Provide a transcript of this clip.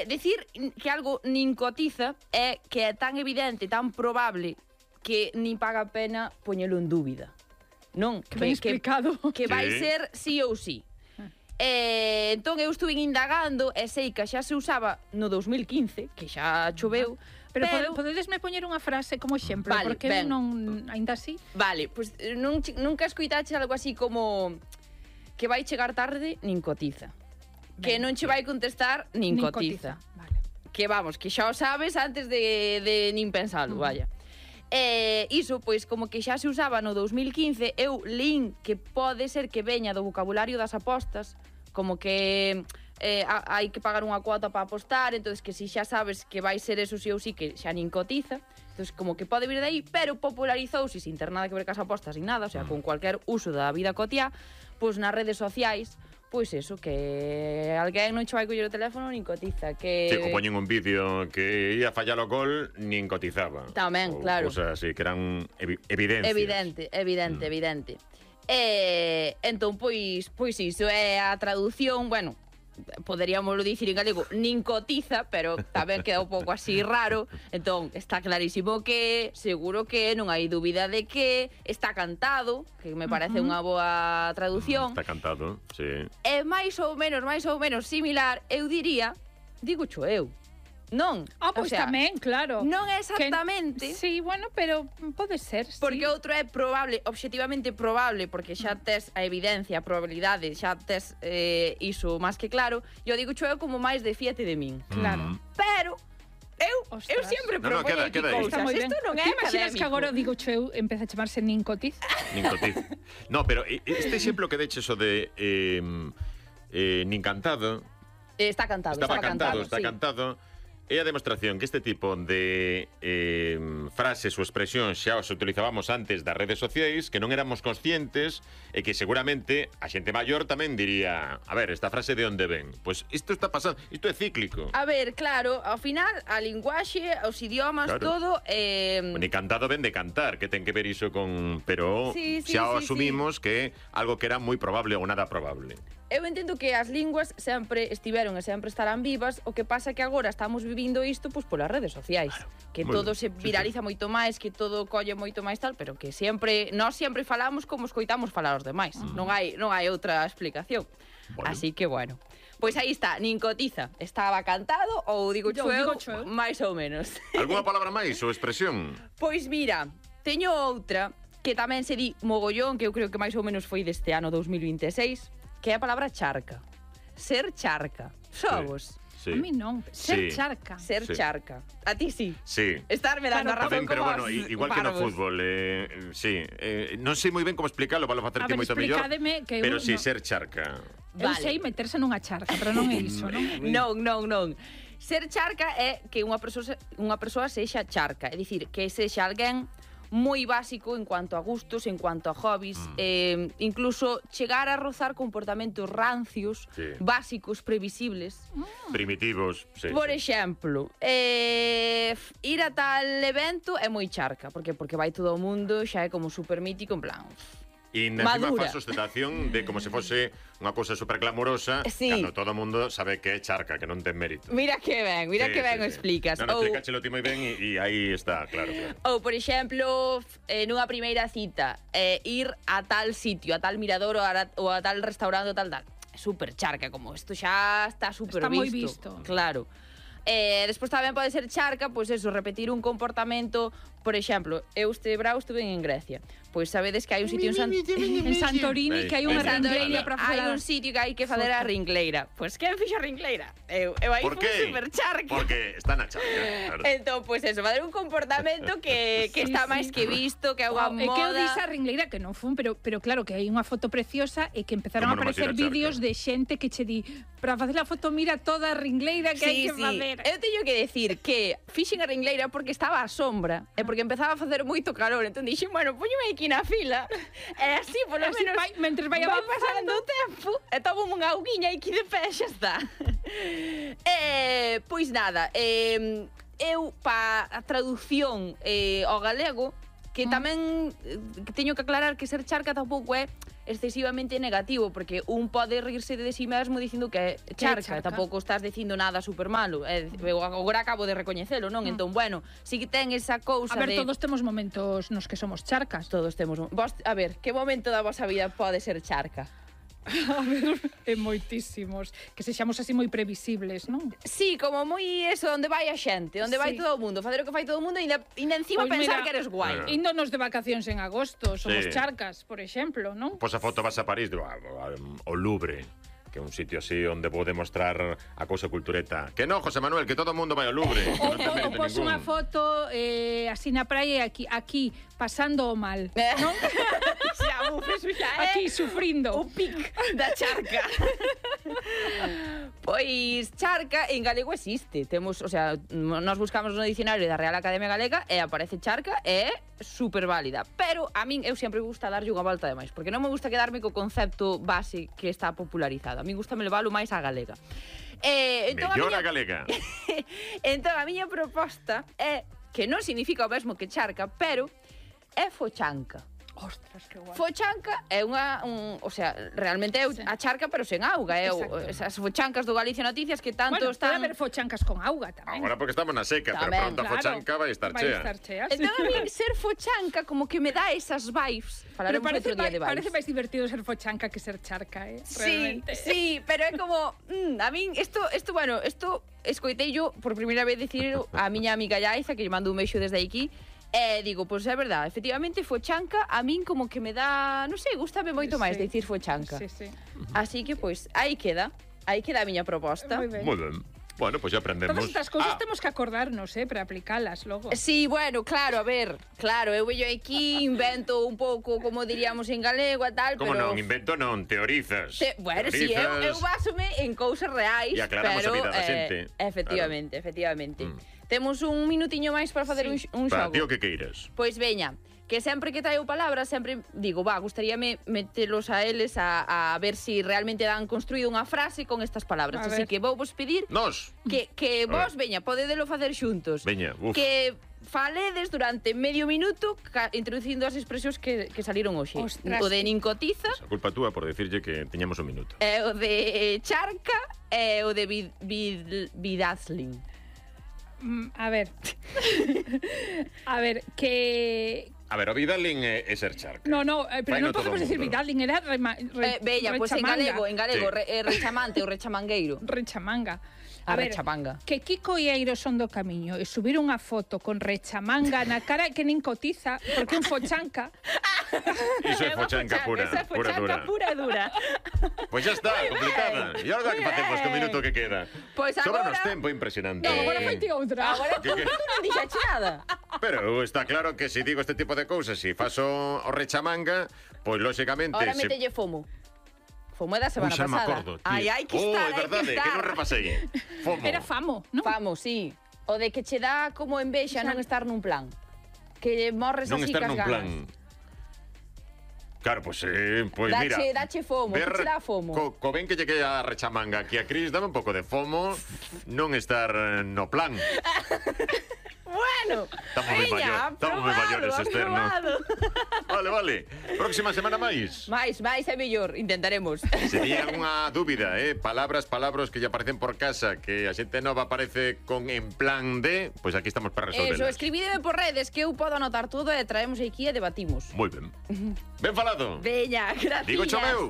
Decir que algo nin cotiza é que é tan evidente, tan probable que nin paga a pena poñelo en dúbida. Non? Que ben explicado. Que vai ser sí ou sí. Entón eu estuve indagando e sei que xa se usaba no 2015, que xa choveu. Pero podedesme poñer unha frase como exemplo, vale, porque eu non, ainda así. Vale, pois nunca escoitache algo así como que vai chegar tarde nin cotiza. Que non che vai contestar nin cotiza. Vale. Que vamos, que xa o sabes antes de nin pensalo, vaya. Iso, pois, como que xa se usaba no 2015, eu lín que pode ser que veña do vocabulario das apostas, como que hai que pagar unha cuota para apostar, entonces que si xa sabes que vai ser eso si ou si, que xa nin cotiza, entonces como que pode vir de aí, pero popularizouse sin ter nada que ver cas apostas, sin nada, o sea, con cualquier uso da vida cotiá, pois nas redes sociais, pois eso, que alguén non che vai coller o teléfono nin cotiza, que... Sí, que poñen un vídeo que ia fallar o gol, nin cotizaba. Tamén, claro. O sea, así, que eran evidencias. Evidente. Entón, pois iso é a traducción, bueno, poderíamoslo dicir en galego, nin cotiza, pero tamén queda un pouco así raro. Entón, está clarísimo que, seguro que non hai dúbida de que está cantado, que me parece unha boa traducción. Está cantado, sí. É máis ou menos similar, eu diría, digo cho eu. Non. Pois tamén, claro. Non é exactamente. Sí, bueno, pero pode ser, sí. Porque outro é probable, obxectivamente probable, porque xa tes a evidencia, a probabilidade, xa tes iso máis que claro. Eu digo eu como máis de fíate de min. Claro. Pero eu sempre propoño queda aí. cousas. Isto non é académico. Imaginas que agora digo eu empeza a chamarse nin cotiz? Nin cotiz. No, pero este exemplo que deches o de nin cantado... Está cantado. Está cantado. É a demostración que este tipo de frases ou expresións xa os utilizábamos antes das redes sociais, que non éramos conscientes e que seguramente a xente maior tamén diría, a ver, esta frase de onde ven? Pois isto está pasando, isto é cíclico. A ver, claro, ao final a linguaxe, os idiomas, claro. Todo... Ni cantado ven de cantar, que ten que ver iso con... Pero xa asumimos que algo que era moi probable ou nada probable. Eu entendo que as linguas sempre estiveron e sempre estarán vivas, o que pasa que agora estamos vivindo isto pois polas redes sociais, que todo se viraliza moito máis, que todo colle moito máis tal, pero que nós sempre falamos como escoitamos falar os demais. Non hai outra explicación. Así que bueno. Pois aí está, nin cotiza. Estaba cantado ou digo eu, máis ou menos. Algúna palabra máis ou expresión? Pois mira, teño outra que tamén se di mogollón, que eu creo que máis ou menos foi deste ano 2026, que é a palabra charca. Ser charca. Somos. Sí. A mí non. Ser charca. Ser charca. A ti sí. Sí. Estarme dando a razón pero como bueno, igual que no fútbol, sí. Non sei moi ben como explicarlo, para facerte moito mellor. Pero sí, ser charca. Eu sei meterse nunha charca, pero non é iso, non? Non. Ser charca é que unha persoa sexa charca, é dicir, que sexa alguén moi básico en cuanto a gustos, en cuanto a hobbies, incluso chegar a rozar comportamentos rancios, básicos, previsibles. Primitivos, sí. Por exemplo, ir a tal evento é moi charca, porque vai todo o mundo, xa é como super mítico, en plan... E encima faz ostentación de como se fose unha cousa super glamorosa, cando todo o mundo sabe que é charca, que non ten mérito. Mira que ben o explicas. Non, explícachelo ti moi ben e aí está, claro. Ou, por exemplo, nunha primeira cita, ir a tal sitio, a tal mirador ou a tal restaurante ou tal. Super charca, como isto xa está super visto. Está moi visto. Claro. Despois tamén pode ser charca, pois eso, repetir un comportamento. Por exemplo, eu este verao estuve en Grecia. Pois sabedes que hai un sitio en Santorini que hai unha ringleira para facer. Hai un sitio que hai que facer a ringleira. Pois quen fixo a ringleira? Eu aí fui super charca. Porque está na charca, claro. Entón, pois eso, facer un comportamento que está máis que visto, que é unha moda. É que eu dixo a ringleira que non fun, pero claro que hai unha foto preciosa e que empezaron a aparecer vídeos de xente que che di, para facer a foto mira toda a ringleira que hai que facer. Eu teño que decir que fixen a ringleira porque estaba a sombra e porque empezaba a facer moito calor, entón dixen, bueno, póñome aquí na fila e así, polo menos, mentres vai pasando o tempo e tomo unha auguiña aquí de pé, xa está. Pois nada, eu pa a traducción ao galego, que tamén teño que aclarar que ser charca tampouco é excesivamente negativo, porque un pode rirse de si mesmo dicindo que é charca, tampouco estás dicindo nada super malo. Eu agora acabo de recoñecelo, non? Entón, bueno, si que ten esa cousa de... A ver, de... todos temos momentos nos que somos charcas. Todos temos... Vos, a ver, que momento da vosa vida pode ser charca? A ver, moitísimos. Que sexamos así moi previsibles, non? Sí, como moi eso, onde vai a xente, onde vai todo o mundo, facer o que fai todo o mundo e ainda encima pues pensar mira, que eres guai. Índonos de vacacións en agosto, somos charcas, por exemplo, non? Pois a foto vas a París, o Louvre, que é un sitio así onde pode mostrar a cousa cultureta. Que no, José Manuel, que todo o mundo vai ao Louvre. O pos unha foto así na praia aquí pasando o mal, non? Xa, aquí sufrindo. O pic da charca. Pois charca en galego existe. Temos, o sea, nós buscamos no dicionario da Real Academia Galega e aparece charca e é super válida. Pero a min eu sempre gusta darlle unha volta de máis, porque non me gusta quedarme co concepto base que está popularizado. A min gusta me levalo máis á galega. Entón, mellor a galega. Entón a miña proposta é que non significa o mesmo que charca, pero é fochanca. Ostras, que guai. Fochanca é o sea, realmente é a charca pero sen auga, é esas fochancas do Galicia Noticias que tanto están... Bueno, pode haber fochancas con auga tamén. Agora porque estamos na seca, pero pronto a fochanca vai estar chea. Entón a mí ser fochanca como que me dá esas vibes. Falaremos outro día de vibes. Parece máis divertido ser fochanca que ser charca, realmente. Sí, pero é como... a min, isto escoitei yo por primeira vez dicir a miña amiga Yaiza, que lle mando un beixo desde aquí, e digo, pois é verdade, efectivamente fochanca a min como que me dá, non sei, gústame moito máis dicir fochanca. Sí. Así que pois aí queda a miña proposta. Moi ben. Bueno, pois ya aprendemos. Todas estas cousas temos que acordarnos, para aplicalas logo. Sí, bueno, claro, a ver, eu vello aquí, invento un pouco, como diríamos en galego e tal, como pero... non, invento non, teorizas. Bueno, sí, eu básome en cousas reais, e aclaramos pero... a vida da xente. Efectivamente. Temos un minutiño máis para facer un xogo. Para ti o que queiras. Pois veña, que sempre que traio palabras, sempre digo, gustaríame metelos a eles a ver si realmente dan construído unha frase con estas palabras. Así que vou vos pedir que vos, veña, podedelo facer xuntos. Veña, que faledes durante medio minuto introducindo as expresións que saliron hoxe. Ostras. O de nincotiza. A culpa túa por decirlle que teñamos un minuto. O de charca e o de vidazling. A ver, que... A ver, o Vidalin é ser charca. No, pero non podemos decir Vidalin, era bella, pois en galego, rechamante ou rechamangueiro. Rechamanga. A rechamanga. Que Kiko e Eiro son do camiño e subir unha foto con rechamanga na cara que nin cotiza, porque un fochanca. Iso é fochanca pura, pura e dura. Pois xa está, complicada. E agora que facemos co minuto que queda? Pois agora... Sobranos tempo impresionante. Agora faite outra. Agora tú non dixache nada. Pero está claro que se digo este tipo de cousas, se faso o rechamanga, pois lóxicamente... Ahora metelle fomo. Fomo é da semana pasada. Me acordo, tío. Hai que estar, é verdade, que non repasei. Fomo. Era famo, non? Famo, sí. O de que che dá como envexa non estar nun plan. Que morres así cas ganas. Non estar nun plan. Claro, pois mira. Dache fomo, que che dá fomo. Co ben que lle queda a rechamanga aquí a Cris, dame un pouco de fomo non estar no plan. Bueno, estamos moi maiores, Esther, ¿no? Vale. Próxima semana máis. Máis é mellor, intentaremos. Se tiña algunha dúbida, palabras que lle aparecen por casa, que a xente nova aparece con en plan de, pois aquí estamos para resolverlas. Eso, escribídeme por redes que eu podo anotar todo e traemos aquí e debatimos. Moi ben. Ben falado. Veña, gracias. Digo cho meu.